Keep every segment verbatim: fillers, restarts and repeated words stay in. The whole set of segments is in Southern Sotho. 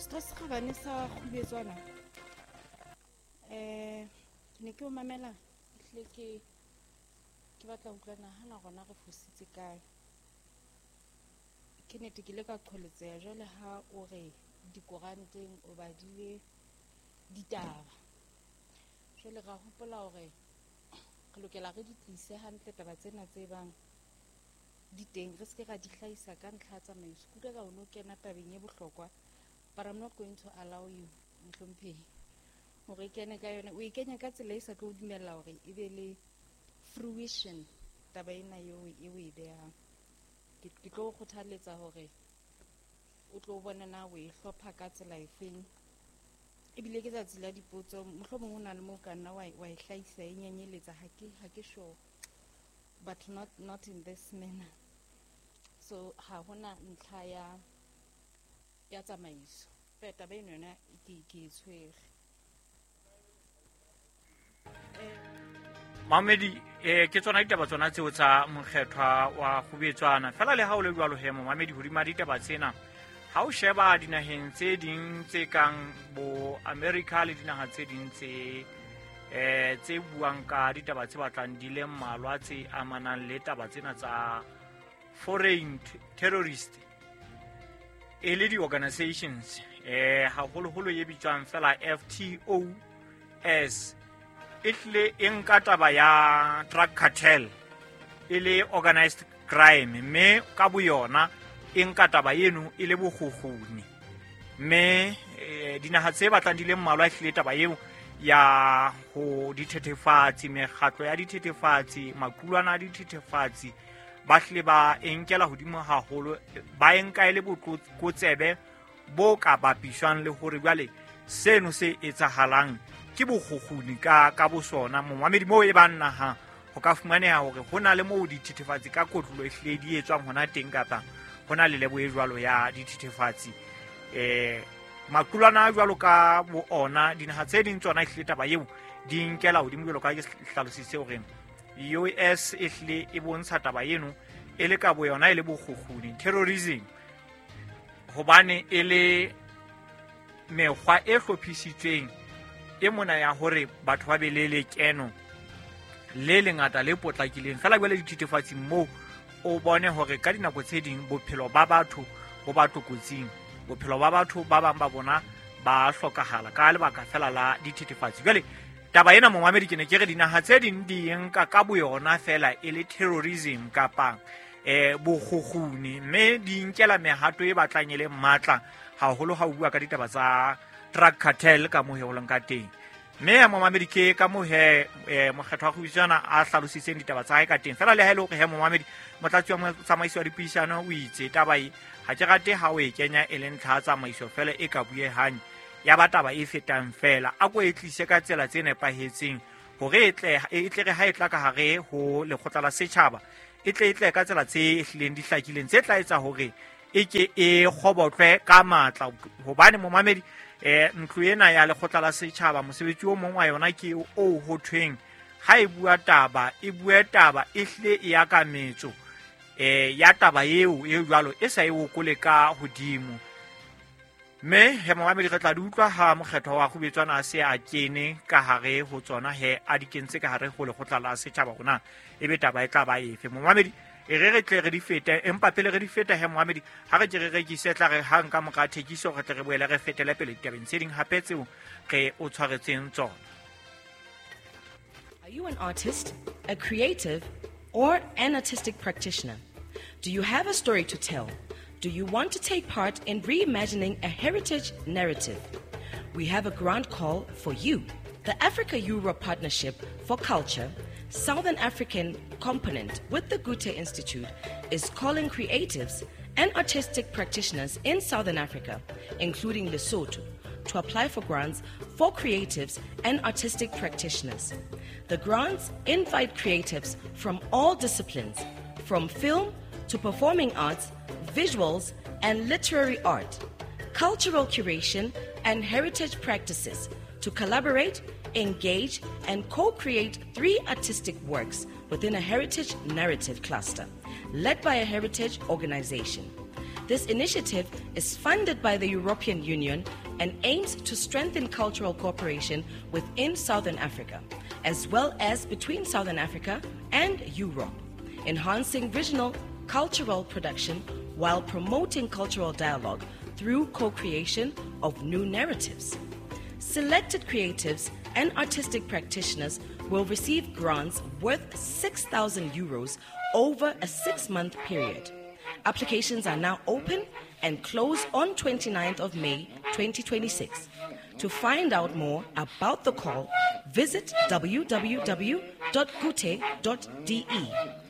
Setho se kgabane sa Kgubetswana, eh ke ne ke o mamela ehlile ke ke batla ho utlwa nahana rona re fositse kae. Ke nnete ke ile ka qholetseha jwale ha o re dikoranteng o badile ditaba. Jwale ra hopola hore re lokela re di tlise hantle taba tsena tse bang di teng, re seke ra di hlahisa ka ntlha ya tsamaiso. Ke utlwa ka o no kena tabeng e bohlokwa, but I'm not going to allow you, mohlomphehi, hore e kene ka yona. O e kenya ka tsela e sa tlo o dumella hore e be le fruition taba ena eo e o e behang. Ke ke tlo o kgothaletsa hore o tlo bone na o e hlopha ka tsela efeng. Ebile ke tsatsi la dipotso, mohlomong ho na le moo ka nna wa e wa e hlahisa e nyenyeletsa, ha ke ha ke sure, but not not in this manner. So ha hona ntlha ya ya tsamaiso. Feela taba eno yona ke ke e tshwere. Mamedi, eh ke tsona ditaba tsona tseo tsa mokgethwa wa Kgubetswana. Fela le ha o le jwalo he momamedi, hodima ditaba tsena ha o sheba dinaheng tse ding tse kang bo America le dinaha tse ding tse eh tse buang ka ditaba tse batlang di le mmalwa tse amanang le taba tsena tsa foreign terrorist e le di-organizations, eh haholoholo e bitswang fela F T O S, e hlile e nka taba ya drug cartel e le organized crime, mme ka boyona e nka taba eno e le bokgukguni. Mme eh, dinaha tse batlang di le mmalwa e hlile taba eo ya ho dithethefatsi, mekgatlo ya dithethefatsi, maqulwana a dithethefatsi, ba hlile ba e nkela hodimo haholo, ba e nka e le botlokotsebe bo ka bapiswang le hore jwale seno se etsahalang ke bokgukguni ka, ka bosona. Momamedi, moo e bang naha ho ka fumaneha hore ho na le moo dithethefatsi ka kotlolo e hlile di etswang hona teng, kapa ho na le lebo e jwalo ya dithethefatsi. Eh, maqulwana a jwalo ka bo ona, dinaha tse ding tsona e hlile taba eo di nkela hodimo jwalo ka ke hlalositse hore U S e hlile e bontsha taba eno e le ka boyona e le bokgukguni, terrorism, hobane e le mekgwa e hlophisitsweng e mona ya hore batho ba be le lekeno le lengata le potlakileng. Feela jwale dithethefatsi moo o bone hore ka dinako tse ding bophelo ba batho bo ba tlokotsing, bophelo ba batho ba bang ba bona ba hlokahala ka lebaka fela la dithethefatsi. Jwale taba ena momamedi, ke ne ke re dinaha tse ding di nka ka boyona fela e le terrorism kapa eh bokgukguni, mme di nkela mehato e batlang e le matla haholo ha o bua ka ditaba tsa drug cartel ka moo ho leng ka teng. Mme momamedi, ke ka moo he eh, mokgetho wa Kgubetswana a hlalositseng ditaba tsa hae ka teng. Fela le ha e le hore he momamedi, motlatsi wa motsamaiso wa dipuisano o itse taba e ha ke rate ha o e kenya e le ntlha ya tsamaiso fela e ka buehang ya ba taba e fetang fela, a ko e tlise ka tsela tse nepahetseng hore e tle e tle re ha e tla ka hare ho lekgotla la setjhaba, e tle e tle ka tsela tse hlileng di hlakileng tse tla etsa hore e ke e kgobotlwe ka matla. Hobane momamedi, eh ntlo ena ya lekgotla la setjhaba mosebetsi o mong wa yona ke o ho thweng ha e bua taba, e bue taba e hlile e ya ka metso eh ya taba eo e jwalo e sa e okole ka hodimo. Mme he momamedi, re tla di utlwa ha mokgetho wa Kgubetswana a se a kene ka hare ho tsona, he a di kentse ka hare ho lekgotla la setjhaba hona ebe taba e tla ba efe. Momamedi, e re re tle re di fete, empa pele re di feta he momamedi, ha re ke re rekise, tla re hang ka mora thekiso re tle re boele re fetele pele ditabeng tse ding hape tseo re o tshwaretseng tsona. Are you an artist, a creative, or an artistic practitioner? Do you have a story to tell? Do you want to take part in reimagining a heritage narrative? We have a grant call for you. The Africa-Europe Partnership for Culture, Southern African component with the Goethe Institute, is calling creatives and artistic practitioners in Southern Africa, including Lesotho, to apply for grants for creatives and artistic practitioners. The grants invite creatives from all disciplines, from film to performing arts, visuals and literary art, cultural curation and heritage practices to collaborate, engage and co-create three artistic works within a heritage narrative cluster led by a heritage organization. This initiative is funded by the European Union and aims to strengthen cultural cooperation within Southern Africa, as well as between Southern Africa and Europe, enhancing regional cultural production while promoting cultural dialogue through co-creation of new narratives. Selected creatives and artistic practitioners will receive grants worth six thousand euros over a six-month period. Applications are now open and close on twenty-ninth of May twenty twenty-six. To find out more about the call, visit w w w dot goethe dot de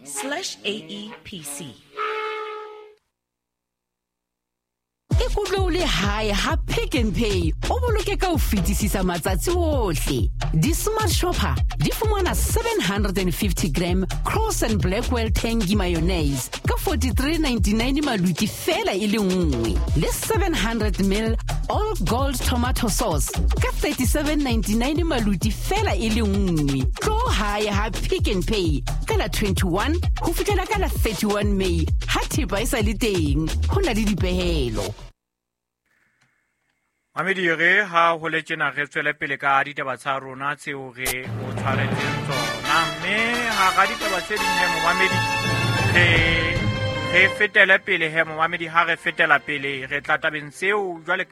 slash A E P C. Ikutlwe o le hae ha Pick n Pay o boloke ka ho fetisisa matsatsi ohle. Di-Smart Shopper di fumana seven hundred fifty gram Cross and Blackwell Tangy mayonnaise ka forty-three ninety-nine maluti fela e le nngwe, le seven hundred mil All Gold tomato sauce ka thirty-seven ninety-nine maluti fela e le nngwe. Tlo hae ha Pick n Pay ka la twenty-one ho fihlela ka la thirty-one May ha thepa e sa le teng, ho na le dipehelo. Mamedi, re ha ho le tjena re tswele pele ka ditaba tsa rona tseo re o tshwaretseng tsona, mme hara ditaba tse ding he, momamedi, re re fetele pele he, momamedi. Ha re fetela pele re tla tabeng tseo jwale,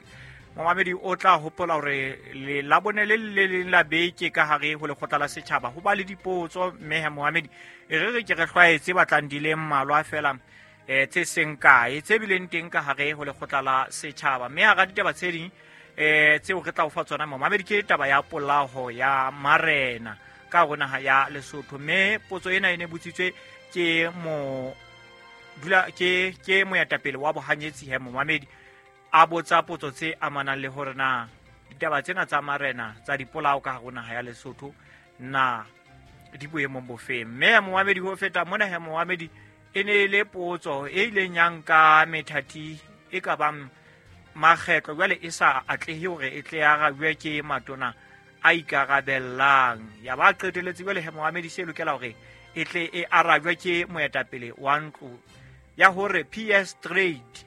momamedi, o tla hopola hore le labone le le leng la beke ka hare ho lekgotla la setjhaba ho ba le dipotso, mme he, momamedi, e re re ke re hlwaetse batlang di le mmalwa fela eh tse seng kae tse bileng teng ka hare ho lekgotla la setjhaba. Mme hara ditaba tse ding eh tseo re tla o fa tsona, momamedi, ke taba ya polaho ya marena ka hare naha ya Lesotho, mme potso ena e ne botsitswe ke mo dula ke ke moetapele wa bohanyetsi he, momamedi, a botsa potso tse amanang le hore na ditaba tsena tsa marena tsa dipolao ka hare naha ya Lesotho na di boemong bofeng. Mme momamedi, ho feta mona he, momamedi, e ne e le potso e ileng ya nka methati e ka bang makgetlo jwale e sa atlehe hore e tle arabjwe ke matona a ikarabellang, ya ba qeteletse jwale he, momamedi, se lokela hore e tle e arabjwe ke moetapele wa ntlo ya hore P S Trade,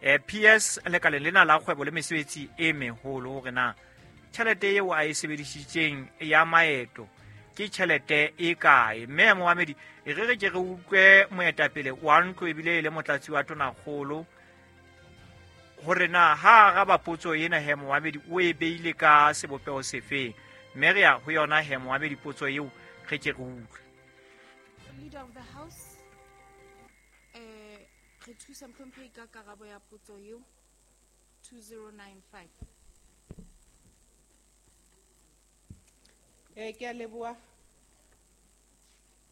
eh P S lekaleng lena la kgwebo le mesebetsi e meholo, hore na tjhelete eo a e sebedisitseng ya maeto ke tjhelete e kae. Mme momamedi, e re re ke re utlwe moetapele wa ntlo ebile e le motlatsi wa tonakgolo hore na ha araba potso ena he, momamedi, o e beile ka sebopeho sefeng. Mme re ya ho yona he, momamedi, potso eo re ke re utlwe. Leader of the House, eh re thusa mohlomphehi ka karabo ya potso eo two zero nine five. Eh, ke a leboha.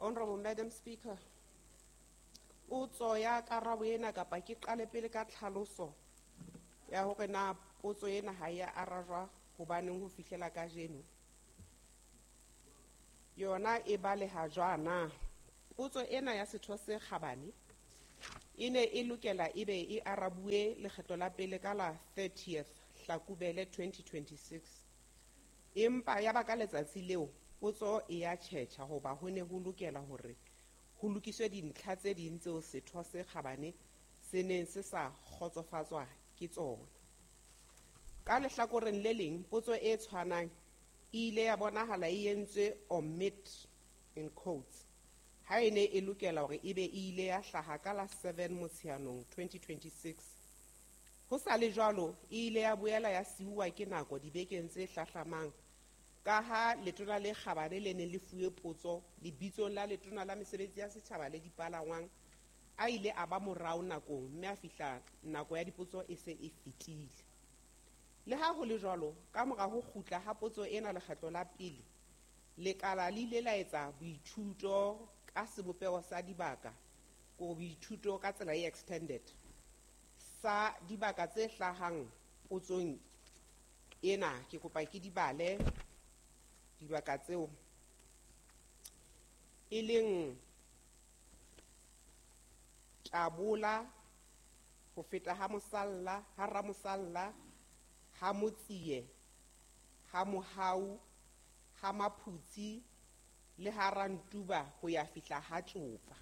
Honorable Madam Speaker, potso ya karabo ena, kapa ke qale pele ka tlhaloso ya hore na potso ena ha ya arajwa hobaneng ho fihlela kajeno. Yona e baleha jwana. Potso ena ya setho se kgabane e ne e lokela ebe e arabuwe lekgetlo la pele ka la thirtieth Hlakubele twenty twenty-six. Empa ya ba ka letsatsi leo potso e ya tjhetjha hoba ho ne ho lokela hore ho lokiswe dintlha tse ding tseo setho se kgabane se neng se sa kgotsofatswa ke tsona. Ka lehlakoreng le leng, potso e tshwanang e ile ya bonahala e entswe omit in quotes ha e ne e lokela hore ebe e ile ya hlaha ka la seven Motsheanong twenty twenty-six. Ho sa le jwalo, e ile ya boela ya siuwa ke nako dibekeng tse hlahlamang ka ha letona le kgabane le neng le fuwe potso lebitsong la letona la mesebetsi ya setjhaba le dipalangwang a ile a ba morao nakong, mme a fihla nako ya dipotso e se e fetile. Le ha ho le jwalo, ka mora ho kgutla ha potso ena lekgetlo la pele, lekala le ile la etsa boithuto ka sebopeho sa dibaka, ko boithuto ka tsela e extended sa dibaka tse hlahang potsong ena. Ke kopa ke di bale dibaka tseo, e leng Tabola, ho feta ha Mosalla, ha Ramosalla, ha Motsie, ha Mohau, ha Maphutsi le ha Rantuba ho ya fihla ha Tsopa.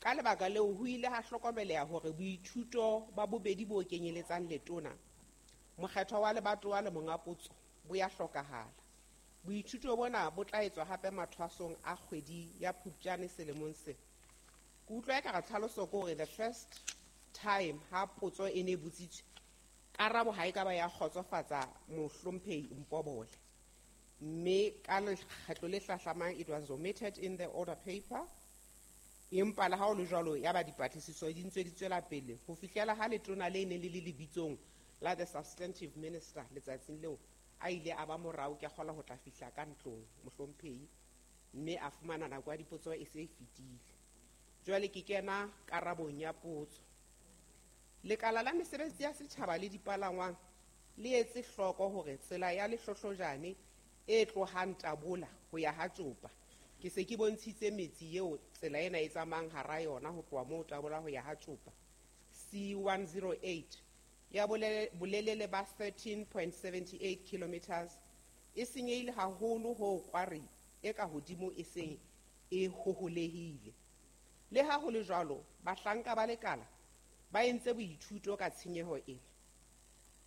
Ka lebaka leo ho ile ha hlokomeleha hore boithuto ba bobedi bo kenyeletsang letona, mokgethwa wa lebatowa le monga potso bo ya hlokahala. Boithuto bona bo tla etswa hape mathwasong a kgwedi ya Phupjane selemong sena. Ke utlwa ekare tlhaloso ke hore the first time ha potso e ne e botsitswe, karabo ha e ka ba ya kgotsofatsa mohlomphehi Mpobole. Mme ka lekgetlo le hlahlamang it was omitted in the order paper. Empa le ha ho le jwalo ya ba dipatlisiso di ntse di tswela pele ho fihlela ha letona le neng le le lebitsong la the substantive minister letsatsing leo a ile a ba morao ke kgola ho tla fihla ka ntlong mohlomphehi, mme a fumana nako ya dipotso e se e fetile. Jwale ke kena karabong ya potso. Lekala la mesebetsi ya setjhaba le dipalangwang le etse hloko hore tsela ya Lehlohlojane e tlohang Tabola ho ya ha Tjopa, ke se ke bontshitse metsi eo tsela ena e tsamayang hara yona ho tloha moo Tabola ho ya ha Tjopa, C one zero eight ya bolelele ba thirteen point seven eight kilometers e senyehile haholo ho kware e ka hodimo e seng e hoholehile. Le ha ho le jwalo, bahlanka ba lekala ba entse boithuto ka tshenyeho ena.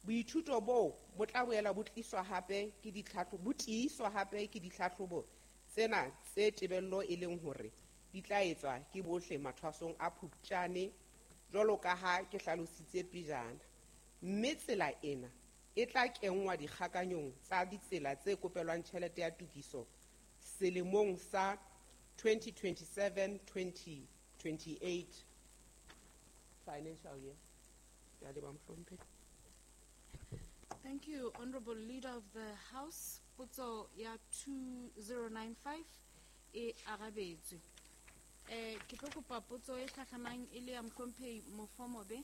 Boithuto boo bo tla boela bo tliswa hape ke ditlhahlobo, bo tiiswa hape ke ditlhahlobo tsena tse tebello e leng hore di tla etswa ke bohle mathwasong a Phupjane jwalo ka ha ke hlalositse pejana. Mme tsela ena e tla kenngwa dikgakanyong tsa ditsela tse kopelwang tjhelete ya tokiso selemong sa twenty twenty-seven twenty twenty-eight financial year. Ke a leboha, mohlomphehi. Thank you, Honorable Leader of the House. Potso ya two zero nine five e arabetswe. Eh, ke tlo kopa potso e hlahlamang e le ya mohlomphehi Mofomobe.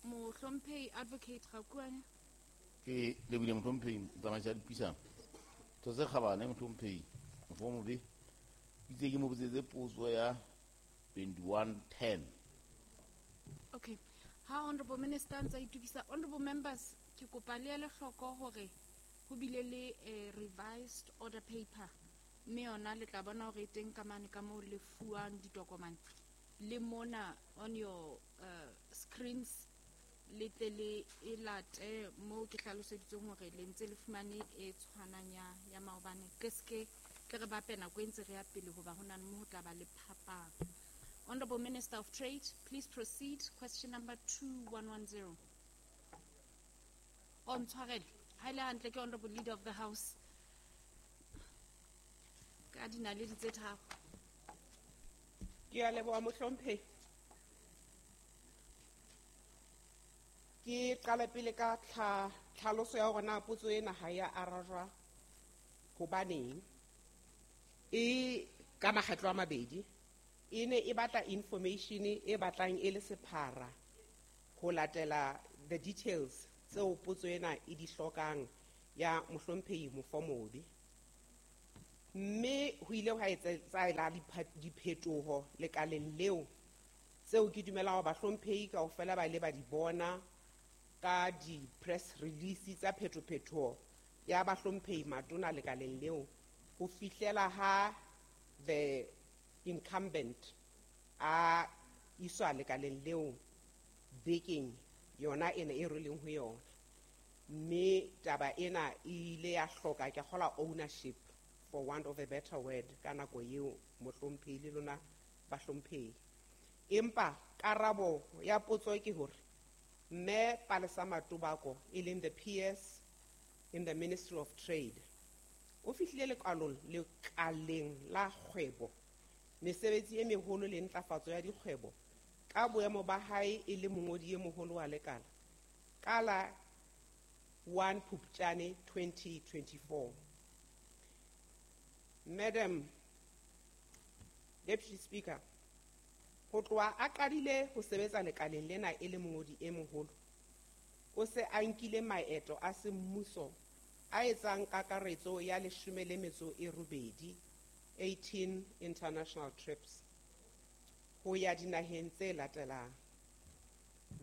Mohlomphehi Advocate Rakuane. Ke lebile mohlomphehi motsamaisi wa dipuisano. Tho tse kgabane mohlomphehi Mofomobe. Itse ke mo botsetse potso ya twenty-one ten. Okay. Ha Honorable Minister ntsa itukisa, Honorable Members, ke kopa le ele hloko hore ho bile le a revised order paper. Mme yona le tla bona hore e teng ka mane ka moo le fuwang ditokomane. Le mona on your, uh, screens le tle le e late moo ke hlaloseditseng hore le ntse le fumane e tshwanang ya, ya maobane. Ke ske tle re bape nako e ntse re ya pele hoba ho na le moo ho tla ba le phapang. Honorable Minister of Trade, please proceed. Question number two one one zero. Oh, ntshwarele. Ha ile hantle ke Honorable Leader of the House. Ka dinaledi tse tharo. Ke a leboha mohlomphehi. Ke qala pele ka tlha-, tlhaloso ya hore na potso ena ha ya arajwa hobaneng. E ka makgetlo a mabedi. E ne e batla information e batlang e le sephara ho latela the details tseo potso ena e di hlokang ya mohlomphehi Mofomobe. Mme ho ile hwa etsahala diphetoho lekaleng leo tseo ke dumelang hore bahlomphehi kaofela ba ile ba di bona ka di-press release tsa phetophetoho ya bahlomphehi matona lekaleng leo ho fihlela ha the incumbent a iswa lekaleng leo bekeng yona ena e re leng ho yona. Mme taba ena e ile ya hloka ke kgola ownership for want of a better word ka nako eo mohlomphehi le lona bahlomphehi. Empa karabo ya potso ke hore Mme Palesa Matobako e leng the P S in the Ministry of Trade o fihlile lekalong lekaleng la kgwebo mesebetsi e meholo le ntlafatso ya dikgwebo ka boemo ba hae e le mongodi e moholo wa lekala ka la one Phupjane twenty twenty-four. Madam Deputy Speaker, ho tloha a qadile ho sebetsa lekaleng lena e le mongodi e moholo, o se a nkile maeto a semmuso a etsang kakaretso ya leshome le metso e robedi, eighteen international trips ho ya dinaheng tse latelang: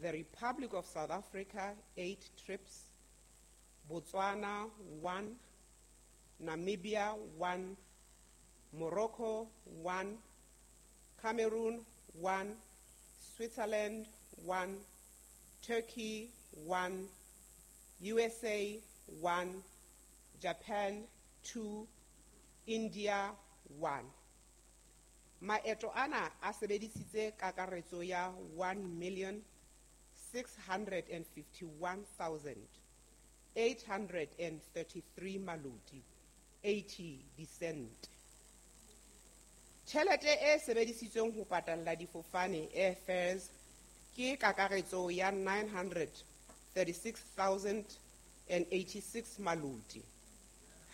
the Republic of South Africa, eight trips, Botswana, one, Namibia, one, Morocco, one, Cameroon, one, Switzerland, one, Turkey, one, U S A, one, Japan, two, India, one. Maeto ana a sebedisitse kakaretso ya one million six hundred and fifty-one thousand eight hundred and thirty-three maloti eighty disente. Tjhelete e sebedisitsweng ho patalla difofane airfares ke kakaretso ya nine hundred thirty-six thousand and eighty-six maloti.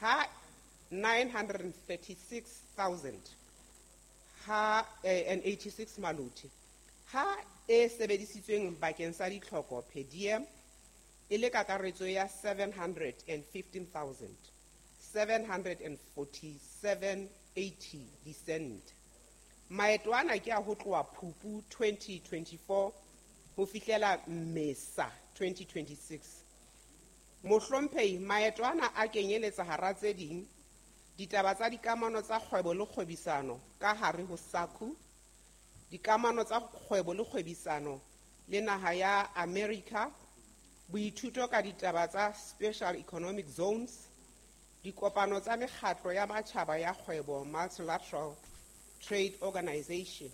Ha nine hundred thirty-six thousand ha, eh, and eighty-six maloti. Ha e sebedisitsweng bakeng sa ditlhoko per diem e le kakaretso ya seven hundred and fifteen thousand seven hundred and forty-seven eighty disent. Maeto ana ke a ho tloha Phupu twenty twenty-four ho fihlela Mmesa twenty twenty-six. Mohlomphehi, maeto ana a kenyeletsa hara tse ding ditaba tsa dikamano tsa kgwebo le kgwebisano ka hare ho SACU, dikamano tsa kgwebo le kgwebisano le naha ya America, boithuto ka ditaba tsa Special Economic Zones, dikopano tsa mekgatlo ya matjhaba ya kgwebo Multilateral Trade Organization.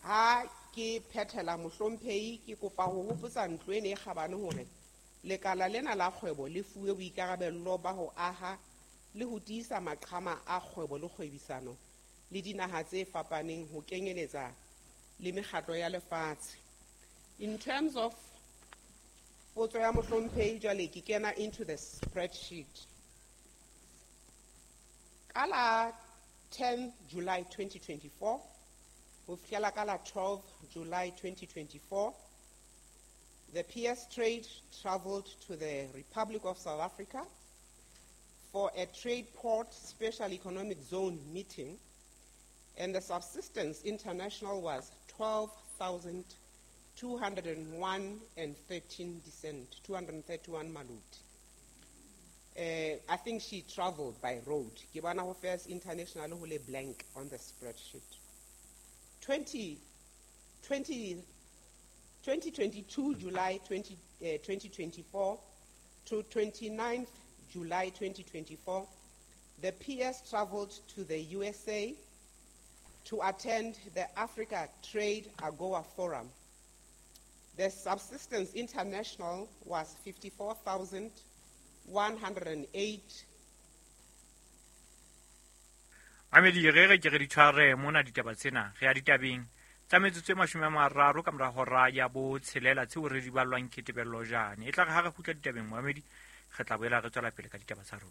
Ha ke phethela mohlomphehi, ke kopa ho hopotsa ntlo ena e kgabane hore lekala lena la kgwebo le fuwe boikarabello ba ho aha le ho tiisa maqhama a kgwebo le kgwebisano le dinaha tse fapaneng ho kenyeletsa le mekgatlo ya lefatshe. In terms of potso ya mohlomphehi, jwale ke kena into the spreadsheet. Ka la ten July twenty twenty-four ho fihlela ka la twelve July twenty twenty-four, the P S Trade traveled to the Republic of South Africa for a trade port special economic zone meeting, and the subsistence international was twelve thousand two hundred and one and thirteen descent, two hundred and thirty-one malut. Uh, I think she traveled by road. Ke bona ho First International ho le blank on the spreadsheet. twenty, twenty, twenty twenty-two, July twenty, uh, twenty twenty-four to twenty-ninth July twenty twenty-four, the P S traveled to the U S A to attend the Africa Trade AGOA Forum. The subsistence international was fifty-four thousand one hundred and eight. Mamedi, re re ke re di tshware mona ditaba tsena, re ya ditabeng tsa metsotso e mashome a mararo ka mora hora ya botshelela tseo re di ballwang ke Tebello Jane. E tla re ha re kgutla ditabeng, Mamedi, re tla boela re tswela pele ka ditaba tsa rona.